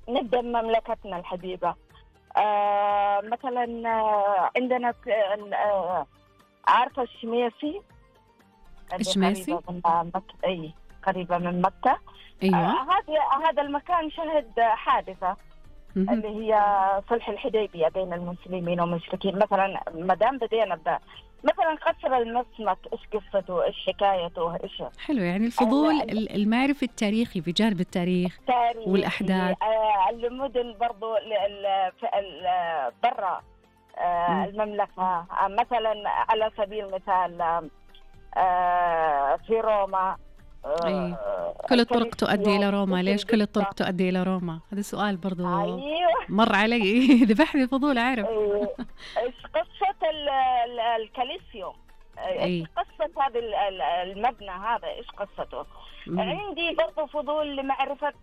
نبدأ بمملكتنا الحبيبة. مثلا عندنا عارفة الشميسي اللي الشماسي؟ قريبة من مكة. أي قريبة من مكة. أيوة. هذا المكان شهد حادثة مهم. اللي هي صلح الحديبية بين المسلمين والمشركين. مثلا مدام بدينا مثلا قصر المسمك، إيش قصته، إيش حكايته، إيش حلو، يعني الفضول المعرفي التاريخي في جانب التاريخ تاريخي. والأحداث. المدن برضو برا مم. المملكة. مثلا على سبيل المثال في روما أي، كل الطرق تؤدي إلى الكوليسيوم. روما. إيش ليش كل الطرق القصة؟ تؤدي إلى روما؟ هذا سؤال برضو أيوه. مر علي. ذبحني الفضول أعرف. إيش قصة الكوليسيوم؟ إيش أي. قصة هذا المبنى هذا؟ إيش قصته؟ عندي برضو فضول لمعرفة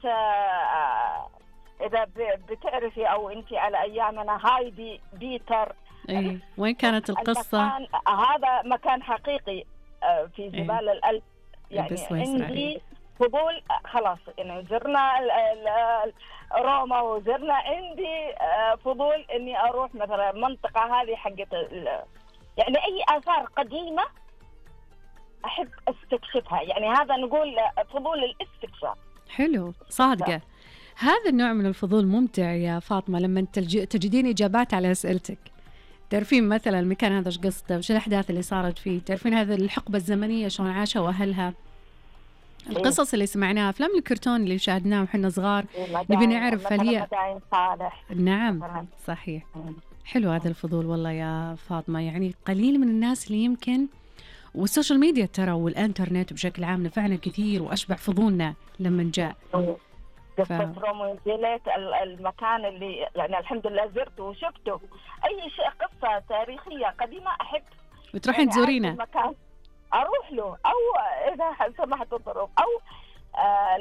إذا بتعرفي أو أنت على أيامنا هايدي بيتر. أي، وين كانت القصة؟ هذا مكان حقيقي في جبال الألب. يعني بسويسرا. عندي فضول خلاص، يعني زرنا روما وزرنا. عندي فضول إني أروح مثلا المنطقة هذه حقت يعني أي آثار قديمة أحب استكشفها. يعني هذا نقول فضول الاستكشاف. حلو، صادقة. هذا النوع من الفضول ممتع يا فاطمة، لما تجدين إجابات على أسئلتك. تعرفين مثلا المكان هذا ايش قصته، وش الأحداث اللي صارت فيه، تعرفين هذه الحقبة الزمنية شلون عاشها وأهلها، القصص اللي سمعناها، أفلام الكرتون اللي شاهدناها وحنا صغار. نبي نعرف هل هي صالح. نعم مثلاً. صحيح. حلو هذا الفضول والله يا فاطمة. يعني قليل من الناس اللي يمكن، والسوشيال ميديا ترى والإنترنت بشكل عام نفعنا كثير وأشبع فضولنا لما جاء. قصة روميو وجوليت، المكان اللي يعني الحمد لله زرته وشفته. أي شيء قصة تاريخية قديمة أحب وتروحين يعني تزورينه. المكان أروح له، أو إذا سمحت الظروف، أو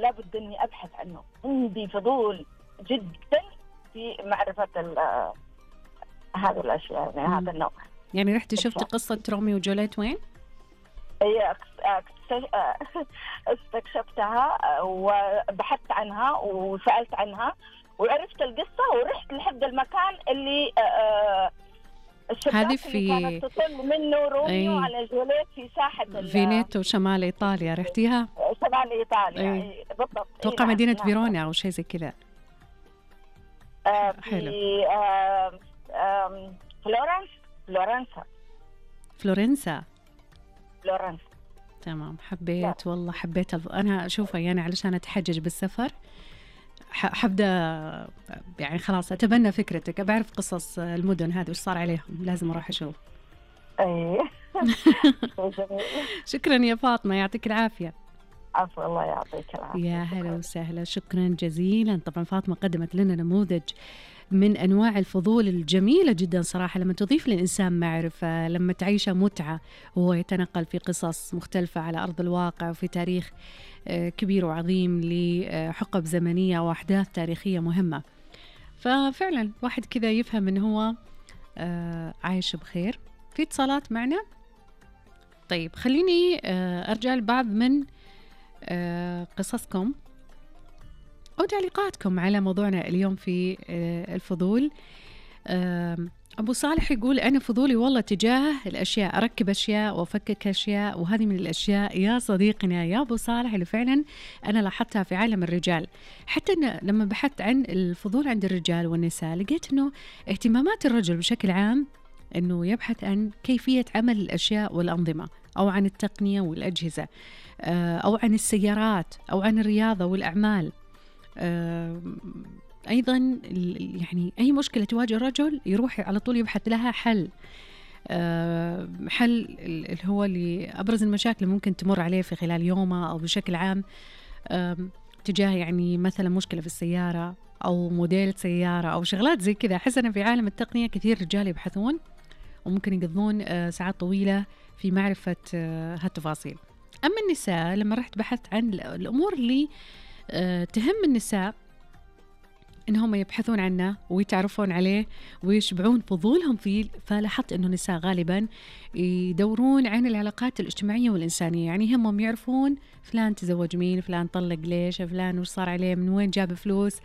لابد إني أبحث عنه. عندي فضول جدا في معرفة هذه الأشياء، يعني هذا النوع. يعني رحتي شفتي قصة روميو وجوليت وين؟ هي استكشفتها وبحثت عنها وسألت عنها وعرفت القصة، ورحت لحد المكان اللي هذه الشباك اللي كانت تطل منه روميو على جوليت في ساحة فينيتو شمال إيطاليا. رحتيها؟ شمال إيطاليا. بالضبط. توقع مدينة فيرونا أو شيء زي كذا. حلو. فلورنسا. تمام. حبيت والله، حبيت أنا أشوفها يعني علشان أتحجج بالسفر. حبدأ يعني خلاص أتبنى فكرتك، بعرف قصص المدن هذه وش صار عليهم، لازم أروح أشوف. شكرا يا فاطمة، يعطيك العافية. عفوا، الله يعطيك العافية. يا هلا وسهلا، شكرا جزيلا. طبعا فاطمة قدمت لنا نموذج من أنواع الفضول الجميلة جدا صراحة، لما تضيف للإنسان معرفة، لما تعيشه متعة وهو يتنقل في قصص مختلفة على أرض الواقع وفي تاريخ كبير وعظيم لحقب زمنية وأحداث تاريخية مهمة. ففعلا واحد كذا يفهم أنه هو عايش بخير. في اتصالات معنا؟ طيب خليني أرجع لبعض من قصصكم أو تعليقاتكم على موضوعنا اليوم في الفضول. أبو صالح يقول أنا فضولي والله تجاه الأشياء، أركب أشياء وأفكك أشياء، وهذه من الأشياء يا صديقنا يا أبو صالح اللي فعلا أنا لاحظتها في عالم الرجال. حتى لما بحثت عن الفضول عند الرجال والنساء لقيت أنه اهتمامات الرجل بشكل عام أنه يبحث عن كيفية عمل الأشياء والأنظمة، أو عن التقنية والأجهزة، أو عن السيارات، أو عن الرياضة والأعمال. أيضا يعني أي مشكلة تواجه الرجل يروح على طول يبحث لها حل. حل اللي هو لأبرز المشاكل ممكن تمر عليه في خلال يومه أو بشكل عام تجاه يعني مثلا مشكلة في السيارة أو موديل سيارة أو شغلات زي كذا. أحس أنا في عالم التقنية كثير رجال يبحثون وممكن يقضون ساعات طويلة في معرفة هالتفاصيل. أما النساء لما رحت بحثت عن الأمور اللي تهم النساء إنهم يبحثون عنه ويتعرفون عليه ويشبعون فضولهم فيه، فلاحظت إنه النساء غالباً يدورون عن العلاقات الاجتماعية والإنسانية. يعني هم يعرفون فلان تزوج مين، فلان طلق ليش، فلان وش صار عليه، من وين جاب فلوس،